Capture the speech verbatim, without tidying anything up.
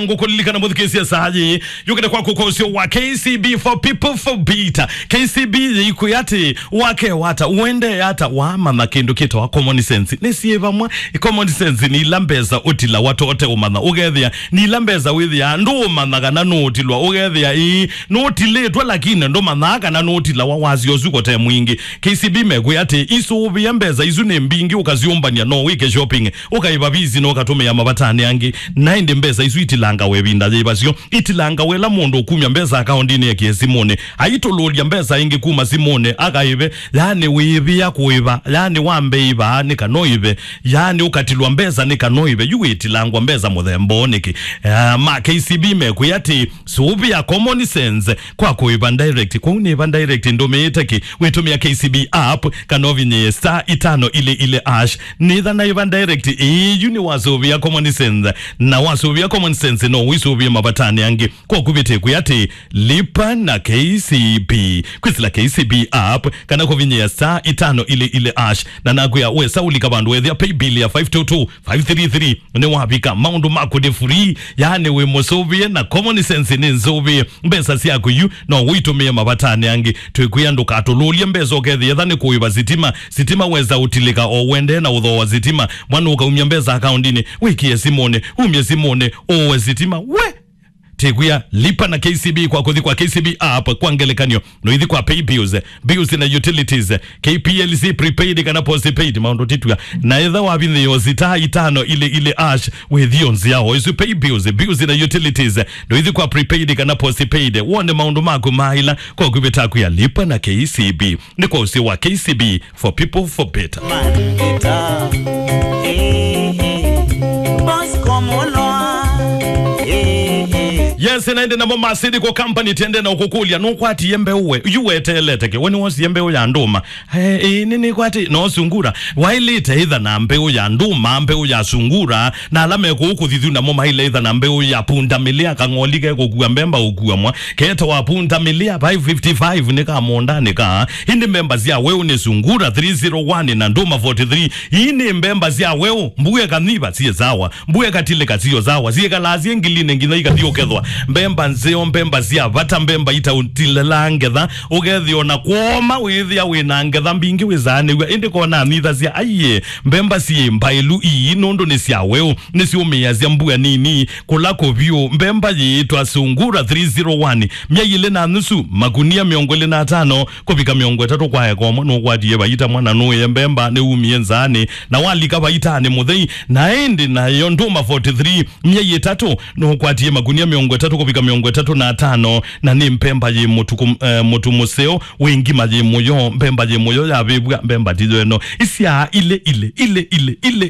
Ngũkũlilikana mũthikĩĩsya saa yĩĩ, yũkĩte kwaku kwa ũseo wa K C B for people for better. K C B yĩikwĩa atĩ, wake wata, ũendee ata, wamanya kĩndũ kĩtawa common sense. Nĩ syĩ vamwe, common sense nĩ ila mbesa ũtilawa tote ũmanya, ũkethĩa nĩ ila mbesa wĩthĩaa ndũũmanya kana nũũtilwa, ũkethĩa ĩĩ nũũtilĩtwe, lakini ndũmanyaa kana nũũtilawa, wasya ũsu kote mwingĩ. K C B mekwĩa atĩ, isũvĩe mbesa isu nĩ mbingĩ, ũkasyũmbany'a no wĩke shopping, ũkaĩva visi na ũkatũmĩa mavatanĩ angĩ. Na ĩndĩ mbesa isu itilangawa ĩvinda yĩva syo, itilangawa ĩla mũndũ ũkumya mbesa akaũndinĩ ekie simũnĩ, aitũlũlya mbesa ĩngĩ kuma simũnĩ akaĩve, yaani wĩĩvĩa kũĩva, yaani wambe ĩva nĩ kana ũĩve, yaani ũkatilwa mbesa nĩ kana ũĩve, yu wĩtilangwa mbesa mũthemba ũũ nĩkĩ? Ah, ma K C B mekwĩa atĩ, sũvĩa common sense kwa kũĩva direct. Kwoou nĩva direct ndũmĩĩte kĩ? Wĩtũmĩa K C B app kana ũvinyĩe star itano ile ile hash. Nĩtha naĩva direct, ĩĩ, yu nĩwasũvĩa common sense. Na wasũvĩa common sense no wĩsũvĩe mavatanĩ angĩ. Kwa kũvĩtĩkwĩa atĩ, lipa na K C B. Kwĩsĩla K C B app kana kũvinyĩe star itano ile ile hash. Na nakwĩa wesa ũlika vandũ wethĩa pay bill ya five two two five three three. Nĩwavika, maũndũ maku nĩ free, yaani wĩ mũsũvĩe, na common sense nĩ nzũvĩe. Mbesa syaku yu no ũitũmĩe mavatanĩ angĩ. Twĩkwĩa ndũkatũlũlye mbesa ũkethĩa etha nĩ kũĩva sitima. Sitima wesa ũtilĩka o wendee na ũthooa sitima. Mwana ũkaumya mbesa akaũndinĩ, wĩkĩe simũnĩ, umye simũnĩ, ũe sitima. We! Tĩkwĩa, lipa na K C B kwa kũthi kwa K C B app kwa ngelekany'o. No ithi kwa pay bills, bills na utilities, K P L C prepaid kana postpaid, maũndũ titw'a. Na etha wavinyĩĩo star itano ile ile hash, wĩthio nzĩa o isu pay bills, bills na utilities. No ithi kwa prepaid kana postpaid, wone maũndũ maku maila kwa kũvĩta kwĩa lipa na K C B. Nĩ kwa ũsĩ wa K C B for people for better. Mandita. Eh, eh. Boss Komolwa. Eh, eh. Yes, na ĩndĩ namo masidi kwa company tende na ũkũkũlya, nũkwatie mbeũ we, yu weteelete kĩ? We nĩwosie mbeũ ya ndũma? Eh, eh, nĩ nĩkwati, no sungura. Wailĩte ĩtha na mbeũ ya ndũma, mbeũ ya sungura, na ala mekũũ kũthithu namo maile ĩtha na mbeũ ya pundamilia, kang'oli kekũkua mbemba ũkua mwa. Ketawa pundamilia five fifty five nĩ ka mũũndanĩ ka. Ĩndĩ mbemba sya weũ nĩ sungura three zero one na ndũma forty three. Ii nĩ mbemba sya weũ, mbue kanyiva siĩ sawa. Mbue katilĩka sio sawa, syĩkalaa syĩ ngilinĩ nginya ikathi ũkethwa. Mbemba nzeo, mbemba sya vata, mbemba itaũtilĩlaa ngetha, ũkethĩa ona kwoma wĩthĩa wĩna ngetha mbingĩ wĩsaanĩw'a, ĩndĩ kona nyithasya, aiye, mbemba syĩ mbaĩlu ii nũndũ nĩ sya weũ, nĩsyũmĩĩasya mbua nini, kũla kũvyũ. Mbemba yĩĩtwa Sungura three zero one, myei ĩlĩ na nusu, makunia mĩongo ĩlĩ na atano kũvika mĩongo ĩtatũ kwa eka ũmwe, nũkwatie vaita mwana nũĩe mbemba nĩumie nzaanĩ, na walika vaitanĩ mũthei. Na ĩndĩ nayo ndũma forty three, myei ĩtatũ, nũkwatie makunia mĩongo ĩtatũ kũvika mĩongo ĩtatũ na atano, na nĩ mbemba yĩ mũtuku, eh, mũtu mũseo, wĩ ngima yĩ mũyo, mbemba yĩ mũyo yavĩvw'a, mbemba tiyo ĩno. Isyaa ile, ile, ile, ile, ile.